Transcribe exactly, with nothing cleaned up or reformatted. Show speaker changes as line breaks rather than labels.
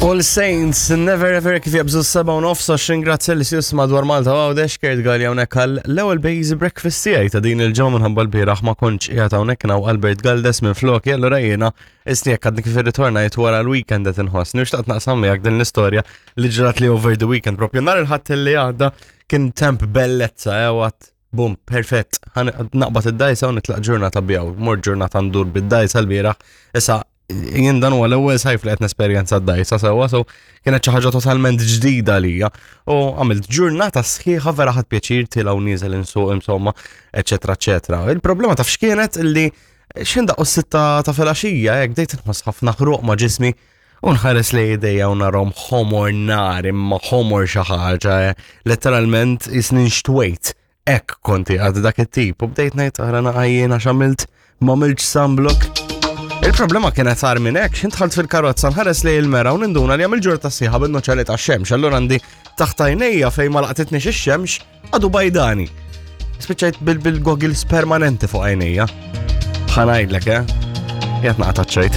All Saints, Never Ever, kif jabżu s-seba u nofs, għax ringrazzja li sjus madwar Malta u Għawdex. Kurt Galea hawnhekk għal l-ewwel Base Breakfast tiegħi ta' din il-ġimgħa, minħabba l-bieraħ ma kontx qiegħed hawnhekk, naw Albert Galdes minn floki, allura jiena isni jekk għadni kif irritornajt wara l-weekend qed inħossni. U xtaqt naqsam miegħek din l-istorja li ġrat li over the weekend. Propju nhar il-Ħadd li għadda kien temp bellezza, eh, għat bum, perfett, naqbad id-dajsa u nitlaq ġurnata bijaw, mor ġurnata ndur bid-dajsa l-bieraħ. Issa, jien dan huwa l-ewwel sajf li qed nesperjenza d-dajsa sewwa, so kienet xi ħaġa totalment ġdida lija. U għamilt ġurnata sħiħa, vera ħadt pjaċir tiela' u nieżel insuq, insomma, eċetera, eċetera. Il-problema taf x'kienet? Illi x'ħin daqqu s-sitta ta' filgħaxija, hekk bdejt inħoss ħafna ħruq ma' ġismi u nħares li idejja u narahom ħomor nar, imma ħomor xi ħaġa, eh, letteralment jisni nxtwejt. Hekk konti għad dak it-tip u bdejt ngħid, "Ara naqajjien għax għamilt ma għamiltx sunblock." Il-problema kienet agħar minn hekk, x'ħin dħalt fil-karozza nħares li il-mera u ninduna li għamil ġurnata sħiħa bin-nuċċali ta' xemx, allura għandi taħt għajnejja fejn ma laqtitni ix-xemx għadu bajdani. Spiċċajt bil-goggles permanenti fuq għajnejja. Ħa ngħidlek, eh? Jgħat naqta ċajt.